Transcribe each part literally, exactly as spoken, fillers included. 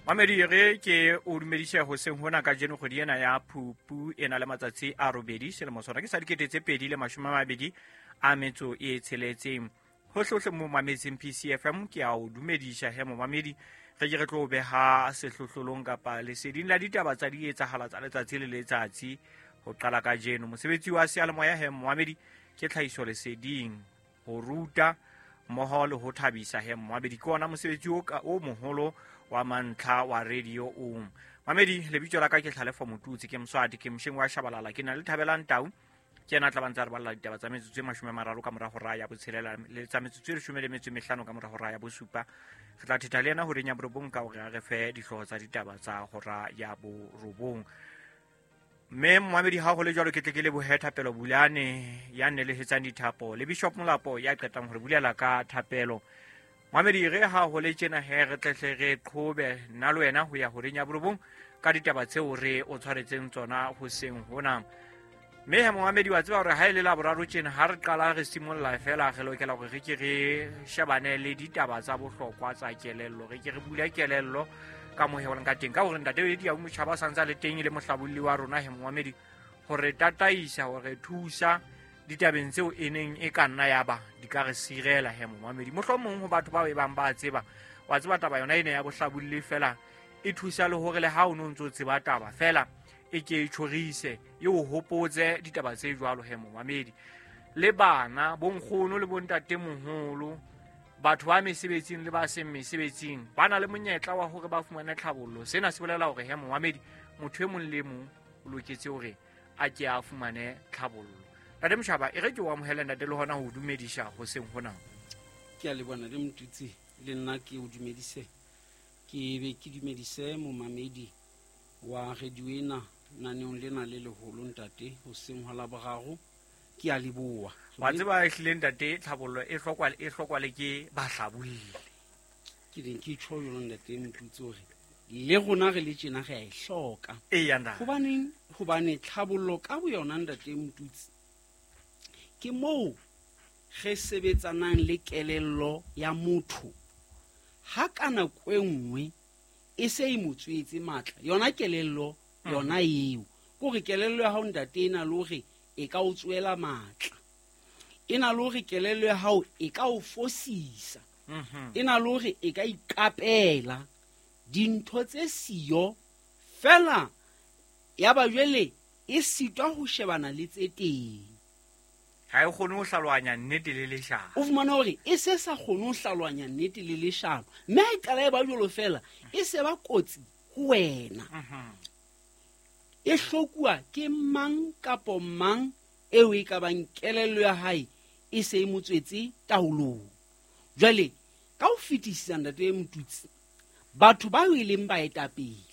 Mamedi re ke o dumedise hoseng hona kajeno kgwedi ena ya Phupu e na le matsatsi a robedi selemo sona ke sa dikete tse pedi le mashome a mabedi a metso e tsheletseng. Hohlehohle mo mametseng P C F M ke a o dumedisa he momamedi re ke re tlo beha sehlohlolong kapa leseding la ditaba tsa dietsahala tsa letsatsi le letsatsi ho qala kajeno. Mosebetsi wa seyalemoya he momamedi ke tlhahiso leseding ho ruta mmoho le ho thabisa he momamedi ke ona mosebetsi o ka o moholo wa mantlha wa radio o. Mamedi lebitso la ka ke Tlhalefo Motutsi ke Moswati ke mosheng wa Shabalala ke na le Thabelang Tau ke yena a tla ba ntse a re balla ditaba tsa metsotso e mashome a mararo ka mora hora ya botshelela le tsa metsotso e leshome le metso e mehlano ka mora hora ya bosupa. Re tla thetha le yena horeng ya borobong ka hore a re fe dihlooho tsa ditaba tsa hora ya borobong. Mme momamedi ha ho le jwalo ke tle ke lebohe Thapelo Bulane ya nnelehetsang dithapo le Bishop Molapo ya qetang hore bulela ka thapelo. Mamedi re ha ho le tjena he re tle hle re qhobe nna le wena ho ya horeng ya borobong ka ditaba tseo re o tshwaretseng tsona hoseng hona. Mme he momamedi wa tseba hore ha e le Laboraro tjena ha re qala re simolla fela re lokela hore re ke re shebane le ditaba tsa bohlokwa tsa kelello, re ke re bule kelello ka mohelang ka teng ka hore ntate Edi Motjhaba sa ntse a le teng e le mohlabolli wa rona he momamedi hore tataisa hore thusa ditabeng tseo e neng e ka nna ya ba di ka re sirela he momamedi. Mohlomong ho batho ba e bang ba tseba wa tseba taba yona ena ya bohlabolli fela e thusa le hore le ha o no ntso tseba taba fela e ke e tjhorise e o hopotse ditaba tse jwalo he momamedi. Le bana bonkgono le bontatemoholo batho ba mesebetsing le ba seng mesebetsing ba na le monyetla wa hore ba fumane tlhabollo. Sena se bolela hore he momamedi motho e mong le mong o loketse hore a ke a fumane tlhabollo. Ntate Motjhaba e re ke o amohele ntate le hona ho dumedisa hoseng hona. Ke a leboha le Motutsi le nna ke o dumedise ke be ke dumedise momamedi wa radio ena naneong lena le leholo ntate hoseng hwa Laboraro. Ke a leboha. Wa tseba ehlile ntate tlhabollo e hlokwa e hlokwa le ke bahlabolli. Ke reng ke tjho jalo ntate Motutsi hore le rona re le tjena re a e hloka. Eya ntate. Hobaneng? Hobane tlhabollo ka boyona ntate Motutsi ke moo re sebetsanang le kelello ya motho ha ka nako e nngwe e se e mo tswetse matla yona kelello yona eo kore kelello ya hao ntate e na le hore e ka o tswela matla e na le hore kelello ya hao e ka o fosisa e na le hore e ka iqapela dintho tse siyo fela ya ba jwale e sitwa ho shebana le tse teng. Ha e kgone ho hlalohanya nnete le leshano. O fumana hore e se sa kgone ho hlalohanya nnete le leshano mme ha e qala e ba jwalo fela e se ba kotsi ho wena. E hlokuwa ke mang kapo mang eo e ka bang kelello ya hae e se e mo tswetse taolong. Jwale ka ho fetisisa ntate Motutsi batho ba e leng baetapele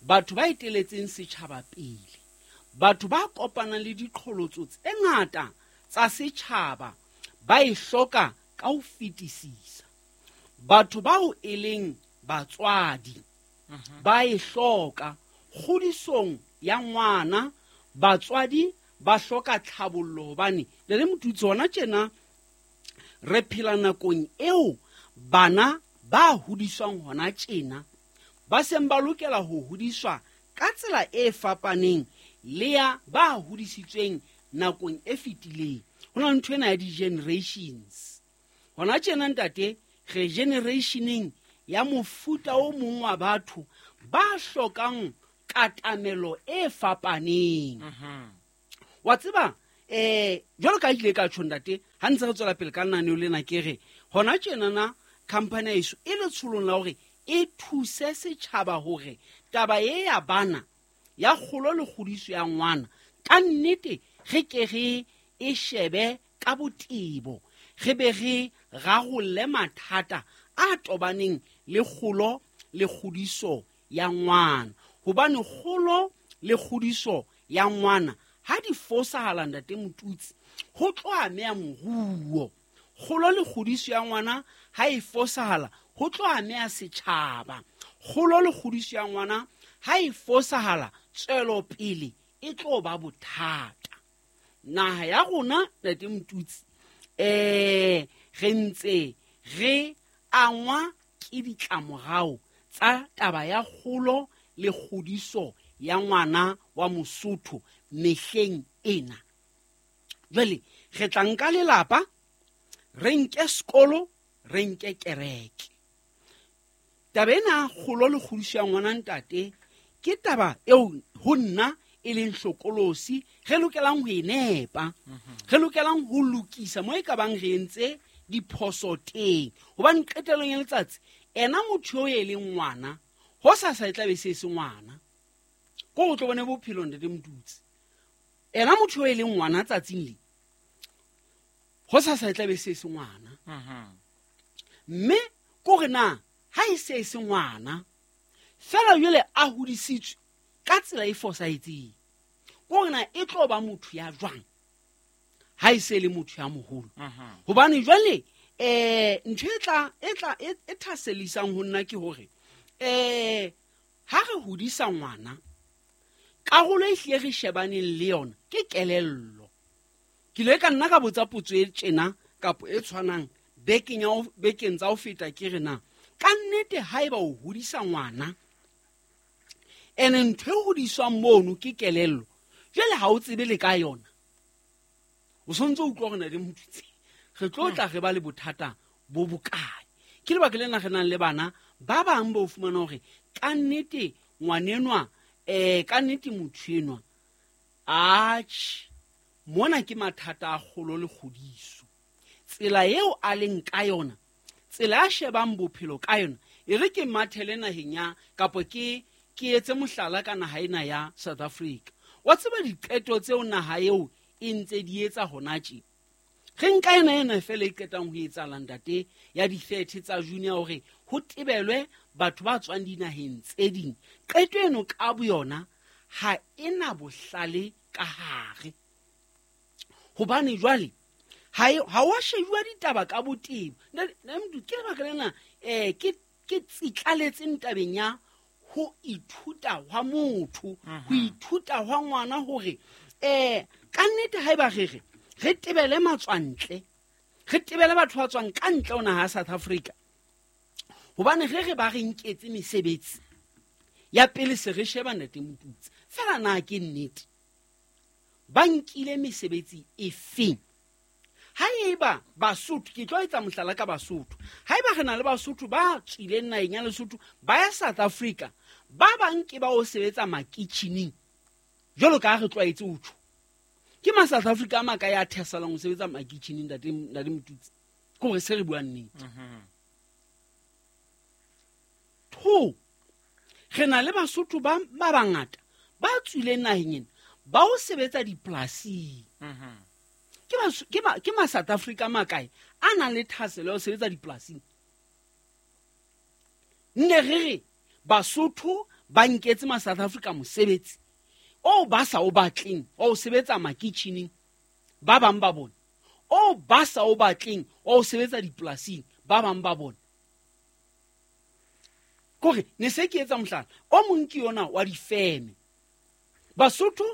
batho ba eteletseng setjhaba pele batho ba kopanang le diqholotso tse ngata tsa setjhaba ba e hloka ka ho fetisisa. Batho bao e leng batswadi ba e hloka kgodisong ya ngwana. Batswadi ba hloka tlhabollo hobane le le Motutsi hona tjena re phela nakong eo bana ba hodiswang hona tjena ba seng ba lokela ho hodiswa ka tsela e fapaneng le ya ba hodisitsweng nakong e fetileng. Ho na le ntho ena ya di-generations. Hona tjena ntate re generationeng ya mofuta o mong wa batho ba hlokang katamelo e fapaneng. Wa tseba eh jwalo ka ile ka tjho ntate ha ntse re tswela pele ka lenaneo lena ke re hona tjena na company eso e letsholong la hore e thuse setjhaba hore taba e ya bana ya kgolo le kgodiso ya ngwana ka nnete re ke re e shebe ka botebo re be re rarolle mathata a tobaneng le kgolo le kgodiso ya ngwana. Hobane kgolo le kgodiso ya ngwana ha di fosahala ntate Motutsi ho tlo ameha moruo. Kgolo le kgodiso ya ngwana ha e fosahala ho tlo ameha setjhaba. Kgolo le kgodiso ya ngwana ha e fosahala tswelopele e tlo ba bothata. Naha ya rona ntate Motutsi eh re ntse re angwa ke ditlamorao tsa taba ya kgolo le kgodiso ya ngwana wa Mosotho mehleng ena. Jwale re tla nka lelapa, re nke sekolo, re nke kereke. Taba ena kgolo le kgodiso ya ngwana ntate ke taba eo ho nna e leng hlokolosi re lokelang ho e nepa, re lokelang ho lokisa mo e ka bang re entse diphoso teng. Hobane qetellong ya letsatsi ena motho eo e leng ngwana ho sa sa e tla be se se ngwana, ko o tlo bone bophelo ntate Motutsi. Ena motho eo e leng ngwana tsatsing le ho sa sa e tla be se se ngwana. Mme ko re na ha e se se ngwana fela jwale a hodisitswe ka tsela e fosahetseng, ko re na e tlo ba motho ya jwang ha e se le motho ya moholo. Hobane jwale eh ntho e tla e tla e thasellisang ho nna ke hore eh ha re hodisa ngwana karolo e hlile re shebaneng le yona ke kelello. Ke ile ka nna ka botsa potso e tjena kapa e tshwanang bekeng ya bekeng tsa ho feta, ke re na ka nnete haeba o hodisa ngwana ene ntho e hodiswang mono ke kelello, jwale ha o tsebe le ka yona, o sontse o utlwa hore na le motutsi re tlo tla re ba le bothata bo bokae. Ke lebaka lena re nang le bana ba bang ba o fumana hore ka nnete ngwanenwa eh ka nnete motho enwa atjhe mona ke mathata a kgolo le kgodiso. Tsela eo a leng ka yona, tsela a shebang bophelo ka yona, e re ke mathele naheng ya kapa ke ke etse mohlala ka naha ena ya South Africa. Wa tseba diqeto tseo naha eo e ntse di etsa hona tje. Re nka ena ena fela e qetang ho etsahala ntate ya di-thirty tsa June hore ho tebelwe batho ba tswang dinaheng tse ding. Qeto eno ka boyona ha ena bohlale ka hare. Hobane jwale ha ha wa shejuwa ditaba ka botebo. Nna ke lebaka lena eh ke ke tsitlaletseng tabeng ya ho ithuta hwa motho, ho ithuta hwa ngwana hore eh ka nnete haeba re re re tebele matswantle, re tebele batho ba tswang ka ntle ho naha ya South Africa. Hobane re re ba re nketse mesebetsi ya pele se re sheba ntate Motutsi fela na ke nnete ba nkile mesebetsi efeng? Haeba Basotho, ke tlo etsa mohlala ka Basotho, haeba re na le Basotho ba tswileng naheng ya Lesotho ba ya South Africa, ba bang ke ba o sebetsa makitjhining jwalo ka ha re tlwaetse ho tjho. Ke ma South Africa a makae a thesalang ho sebetsa makitjhining ntate ntate Motutsi? Ke hore se re buang nnete. Two, re na le Basotho ba ba bangata ba tswileng naheng ena ba o sebetsa dipolasing. Ke ba ke ba ke ma South Africa makae a nang le thaselo ya ho sebetsa dipolasing? Nne re re Basotho ba nketse ma South Africa mosebetsi o ba sa o batleng o sebetsa makitjhining ba bang ba bona, o ba sa o batleng o sebetsa dipolasing ba bang ba bona. Kore ne se ke etsa mohlala o mong ke yona wa difeme. Basotho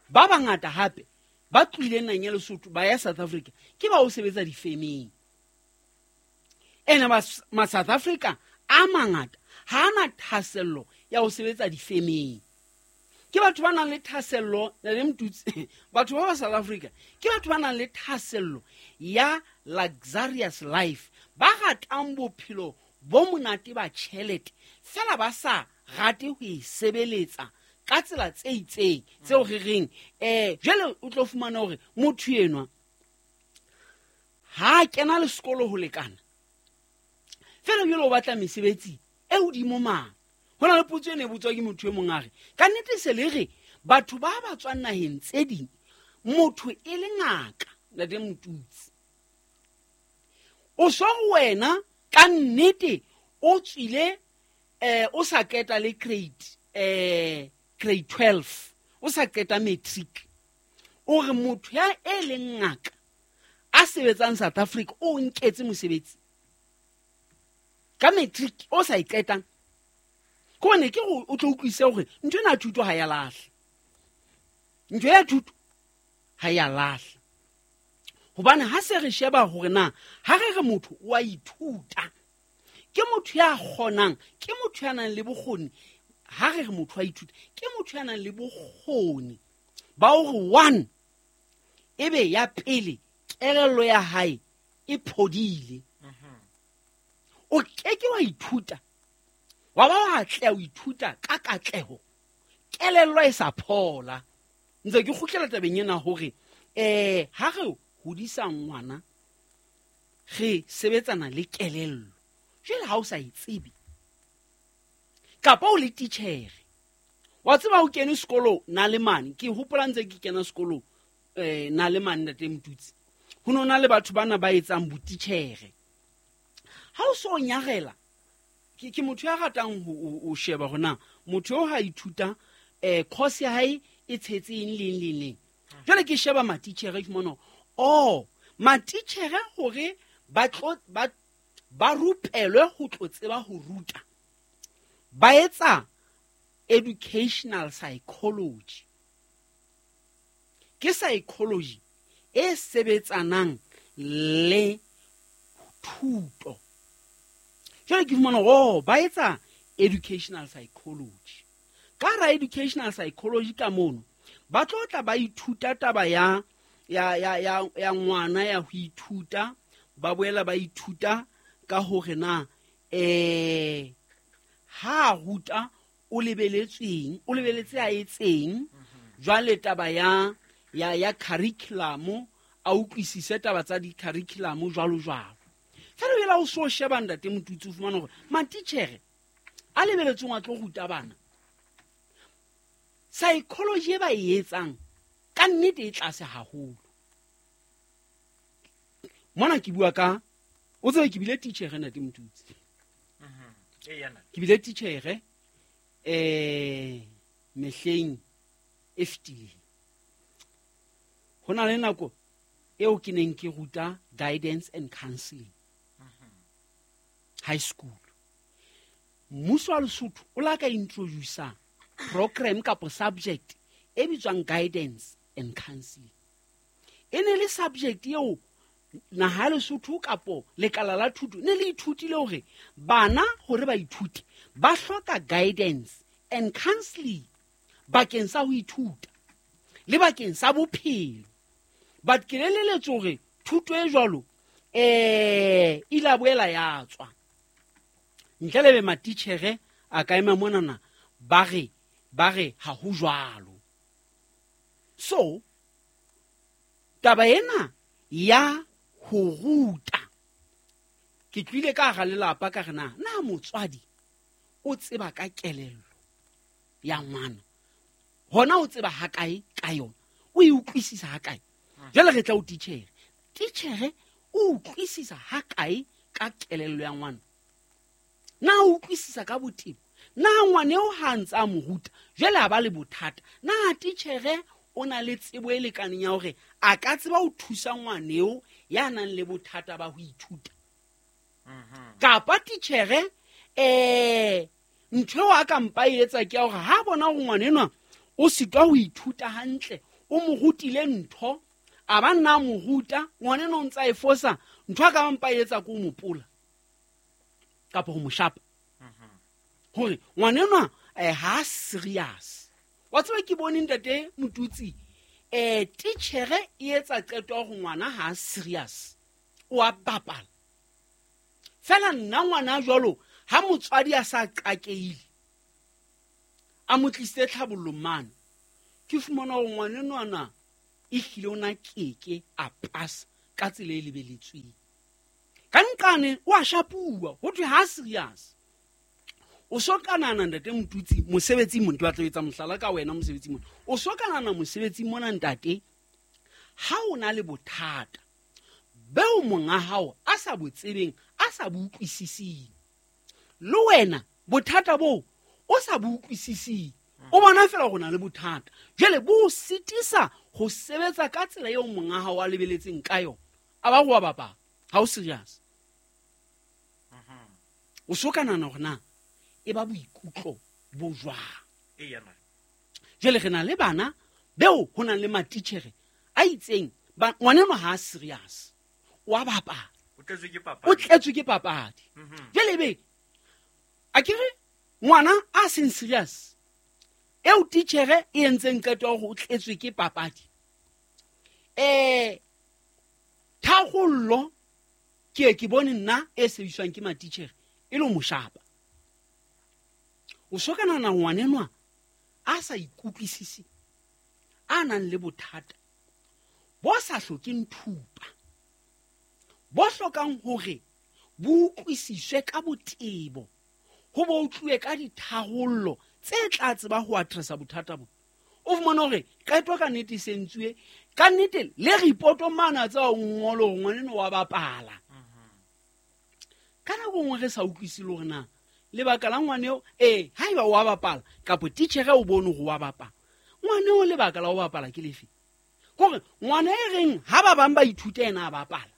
ba bangata hape ba tlohileng naheng ya Lesotho ba ya South Africa ke ba o sebetsa difemeng. Ene ma South Africa a mangata ha ana thasello ya ho sebetsa difemeng. Ke batho ba nang le thasello, le Motutsi, batho ba ba South Africa ke batho ba nang le thasello ya luxurious life, ba ratang bophelo bo monate ba tjhelete fela ba sa rate ho e sebeletsa ka tsela tse itseng tseo re reng eh jwale o tlo fumana hore motho enwa ha kena le sekolo ho lekana fela jwale o batla mesebetsi e hodimo mang. Ho na le potso e ne botswa ke motho e mong a re ka nnete se le re batho ba ba tswang naheng tse ding motho e le ngaka ntate Motutsi o so wena ka nnete o tswile eh o sa qeta le grade eh grade twelve o sa qeta matric, o re motho ya e leng ngaka a sebetsang South Africa o nketse mosebetsi ka matric o sa e qetang. Ko ne ke o tlo utlwise hore ntho ena thuto ha ya lahla, ntho ya thuto ha ya lahla. Hobane ha se re sheba hore na ha re re motho o a ithuta Ke motho ya kgonang, ke motho ya nang le bokgoni. Ha re re motho a ithuta, ke motho ya nang le bokgoni ba hore one ebe ya pele kelello ya hae e phodile. O keke wa ithuta, wa ba wa atleha ho ithuta ka katleho, kelello e sa phola. Ntse ke kgutlela tabeng ena hore eh ha re hodisa ngwana re sebetsana le kelello. Jwale ha o sa e tsebe kapa o le titjhere, wa tseba o kene sekolo na le mane, ke hopola ntse ke kena sekolo eh na le mane ntate Motutsi, ho no na le batho bana ba etsang botitjhere. Ha o so nyarela, ke ke motho ya ratang ho o sheba hore na motho eo ha ithuta eh course ya hae e tshetse eng le eng le eng. Jwale ke sheba matitjhere ke mona, oh matitjhere hore ba tlo ba ba rupelwe ho tlo tseba ho ruta, ba etsa educational psychology. Ke psychology e sebetsanang le thuto. Jwale ke fumana oh ba etsa educational psychology. Ka ra educational psychology ka mono ba tlo tla ba ithuta taba ya ya ya ya ya ngwana ya ho ithuta, ba boela ba ithuta ka hore na eh ha ruta o lebeletsweng, o lebeletse a etseng. Jwale taba ya ya ya curriculum, a utlwisise taba tsa di curriculum jwalo jwalo. Fela o ela o so sheba ntate Motutsi, o fumana hore matitjhere a lebeletsweng a tlo ruta bana, psychology e ba e etsang ka nnete e tlase haholo. Mona ke bua ka, o tsebe ke bile titjhere ntate Motutsi. Ke bile titjhere eh mehleng e fetileng. Ho na le nako eo ke neng ke ruta guidance and counseling high school. Mmuso wa Lesotho o la ka introduce program kapa subject e bitswang guidance and counseling. E ne le subject eo naha ya Lesotho kapo lekala la thuto ne le ithutile hore bana hore ba ithute ba hloka guidance and counseling bakeng sa ho ithuta le bakeng sa bophelo. But ke leleletse hore thuto e jwalo eh ile a boela ya tswa. Ntle le be matitjhere a ka ema monana ba re ba re ha ho jwalo. So taba ena ya ho ruta, ke tlile ka hara lelapa ka re na na motswadi o tseba ka kelello ya ngwana, hona o tseba ha kae ka yona, o e utlwisisa ha kae. Jwale re tla o titjhere, titjhere o utlwisisa ha kae ka kelello ya ngwana, na o utlwisisa ka botebo, na ngwana eo ha ntse a mo ruta jwale a ba le bothata, na titjhere o na le tsebo e lekaneng ya hore a ka tseba ho thusa ngwana eo ya nang le bothata ba ho ithuta. Kapa titjhere eh ntho eo a ka mpa e etsa ke ya hore ha bona hore ngwana enwa o sitwa ho ithuta hantle, o mo rutile ntho, a ba nna mo ruta, ngwana enwa o ntse a e fosa, ntho a ka mpa e etsa ke ho mo pola kapa ho mo shapa hore ngwana enwa eh ha serious. Wa tseba ke bone ntate Motutsi eh titjhere e etsa qeto ya hore ngwana ha serious, o a bapala. Fela nna ngwana jwalo ha motswadi a sa qakeile a mo tlisitse tlhabollong mane, ke fumana hore ngwana enwana e hlile o na keke a pasa ka tsela e lebeletsweng. Ka nqane o a shapuwa ho thwe ha serious. O so ka nahana ntate Motutsi mosebetsing mona, ke batla ho etsa mohlala ka wena mosebetsing mona. O so ka nahana mosebetsing mona ntate, ha o na le bothata beo monga hao a sa bo tsebeng, a sa bo utlwisising, le wena bothata boo o sa bo utlwisising, o bona fela hore o na le bothata, jwale bo o sitisa ho sebetsa ka tsela eo monga hao a lebeletseng ka yona, a ba go wa bapala, ha o serious. O so ka nahana hore na e ba boikutlo bo jwang. Jwale re na le bana beo ho nang le matitjhere a itseng, ngwana enwa ha a serious, o a bapala, O tletswe ke papadi. O tletswe ke papadi. Jwale ebe A kere ngwana a seng serious eo titjhere e entseng qeto ya hore o tletswe ke papadi, um tharollo ke ke bone nna e sebediswang ke matitjhere e le ho mo shapa. O so ka nahana ngwanenwa a sa ikutlwisise, a nang le bothata bo sa hlokeng thupa, bo hlokang hore bo utlwisiswe ka botebo, ho bo utluwe ka ditharollo tse tla tseba ho addressa bothata bo. O fumane hore qeto ka nnete e sentsuwe, ka nnete le report mane a tseba ho ngola hore ngwanenwa wa bapala. Ka nako nngwe re sa utlwisise le hore na lebaka la ngwaneo, ee, haeba wa bapala kapa titjhere o bone hore wa bapala, ngwaneo lebaka la ho bapala ke lefe? Kore ngwana e reng ha ba bang ba ithuta yena a bapala.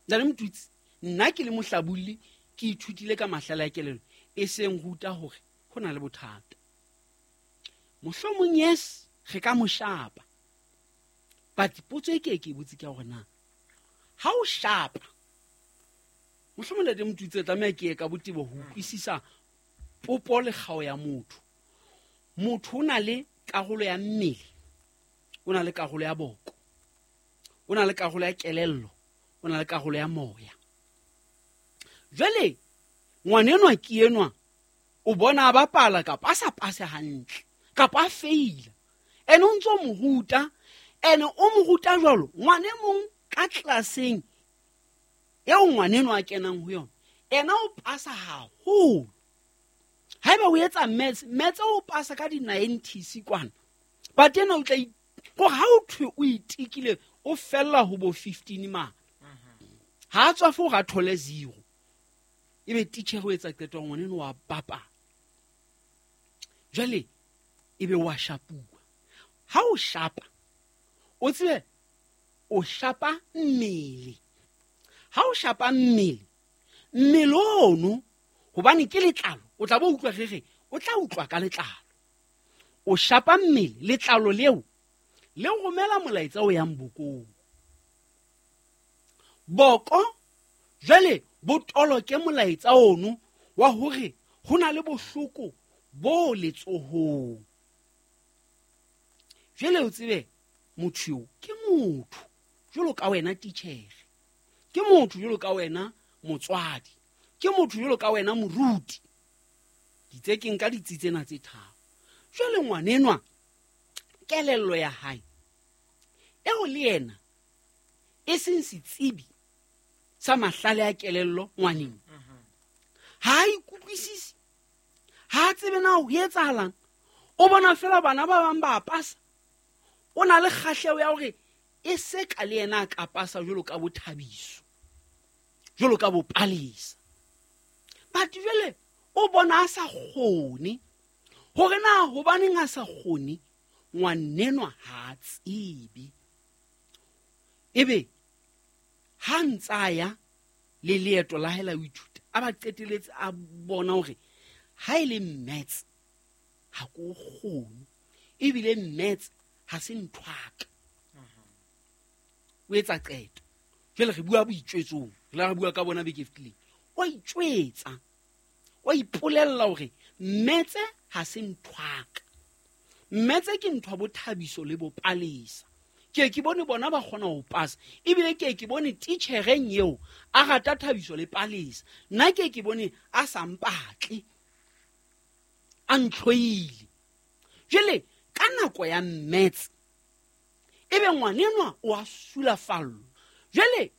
Ntate Motutsi, nna ke le mohlabolli ke ithutile ka mahlale a kelello e seng ruta hore ho na le bothata. Mohlomong yes, re ka mo shapa. But potso e ke ke e botse ke ya hore na ha o shapa, mohlomong Ntate Motutsi re tlameha ke ye ka botebo ho utlwisisa popo le kgao ya motho. Motho o na le karolo ya mmele, o na le karolo ya boko, o na le karolo ya kelello, o na le karolo ya moya. Jwale ngwanenwa ke enwa o bona a bapala kapa a sa pase hantle kapa a feila, ene o ntso mo ruta, ene o mo ruta jwalo ngwane mong ka tlelaseng eo ngwanenwa a kenang ho yona, ena o pasa haholo. Haeba o etsa maths, maths o pasa ka di-nineties kwana, but ena o tla kore ha o thwe o itikile o fella ho bo fifteen mane, ha a tswa fo hore a thole zero, ebe titjhere o etsa qeto ya ngwaneno wa bapala. Jwale ebe wa shapuwa. Ha o shapa, o tsebe o shapa mmele. Ha o shapa mmele, mmele ono hobane ke letlalo, o tla bo utlwa re re o tla utlwa ka letlalo. O shapa mmele, letlalo leo le romela molaetsa o yang bokong. Boko jwale bo toloke molaetsa ono wa hore ho na le bohloko bo letsohong. Jwale o tsebe motho eo ke motho jwalo ka wena titjhere, ke motho jwalo ka wena motswadi, ke motho jwalo ka wena moruti. Ditse ke nka ditsi tsena tse tharo. Jwale ngwanenwa kelello ya hae eo le yena e seng setsebi sa mahlale a kelello ngwaneng, ha a ikutlwisise, ha a tsebe na ho etsahalang. O bona fela bana ba bang ba pasa, o na le kgahleho ya hore e se ka le yena a ka pasa jwalo ka boThabiso, jwalo ka boPalesa. But jwale o bona a sa kgone. Hore na hobaneng a sa kgone, ngwanenwa ha a tsebe. Ebe ha ntsa ya le leeto la hae la ho ithuta, a ba qeteletse a bona hore ha e le maths ha ko kgone, ebile maths ha se ntho ya ka. O etsa qeto. Jwale re bua boitjwetsong, re la re bua ka bona beke e fetileng. O itjwetsa, o ipolella hore maths ha se ntho ya ka. Maths ke ntho ya boThabiso le boPalesa. Ke ke bone bona ba kgona ho pasa, ebile ke ke bone titjhereng eo a rata Thabiso le Palesa. Nna ke ke bone a sa mpatle, a ntlhoile. Jwale ka nako ya maths ebe ngwanenwa o a sulafallwa. Jwale